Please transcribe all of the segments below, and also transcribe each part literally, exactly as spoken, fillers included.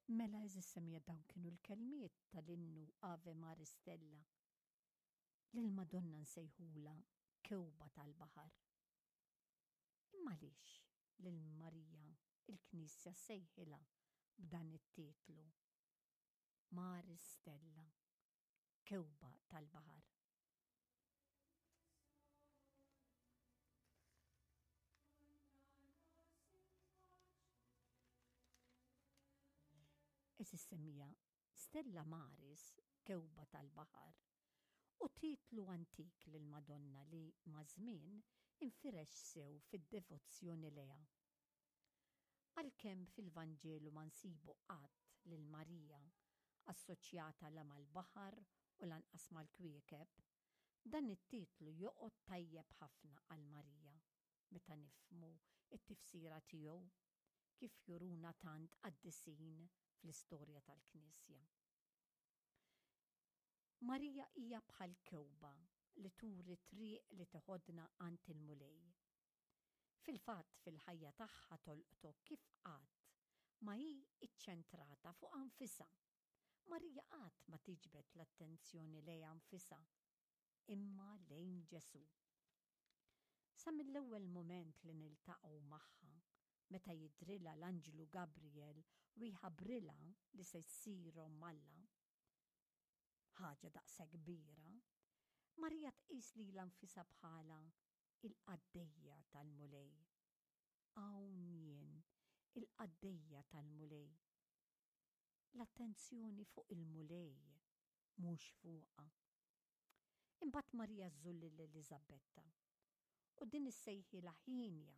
Mela, għeżież semmiegħa, dawn kienu l-kelmiet tal-innu Ave Maris Stella. Lil Madonna nsejħula kewba tal-baħar. Imma għaliex lil Marija il-Knisja sejħilha b'dan it-titlu? Maris Stella, kewba tal-baħar. Għeżież semmiegħa, Stella Maris, kewba tal-baħar, u titlu antik lil Madonna li maż-żmien infirex sew fid-devozzjoni lejha. Għalkemm fil-Vanġelu ma nsibu qatt lil Marija assoċjata la mal-baħar u lanqas mal-kwiekeb, dan it-titlu joqgħod tajjeb ħafna għal Marija meta nifhmu t-tifsira tiegħu kif juruna tant qaddisin fl-istorja tal-Knisja. Marija hija bħal kewba li turi triq li teħodna għand il-Mulej. Fil-fatt, fil-ħajja tagħha tolqtok kif qatt ma hi iċċentrata fuq nfisha. Marija qatt ma tiġbed l-attenzjoni lejha nfisha, imma lejn Ġesù. Sa mill-ewwel moment li niltaqgħu magħha, meta jidhrilha l-anġlu Gabriel u jħabbrilha li se ssir omm Alla, ħaġa daqshekk kbira, Marija tqis lilha nfisha bħala il-qaddejja tal-Mulej. Hawn jien, il-qaddejja tal-Mulej. L-attenzjoni fuq il-Mulej, mhux fuqha. Imbagħad Marija żżur lil Eliżabetta u din issejħilha ħienja.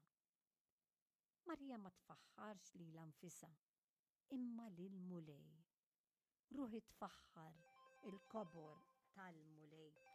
Marija ma tfaħħarx lilha nfisha, imma lil Mulej. Ruħi tfaħħar il-kobor tal-Mulej.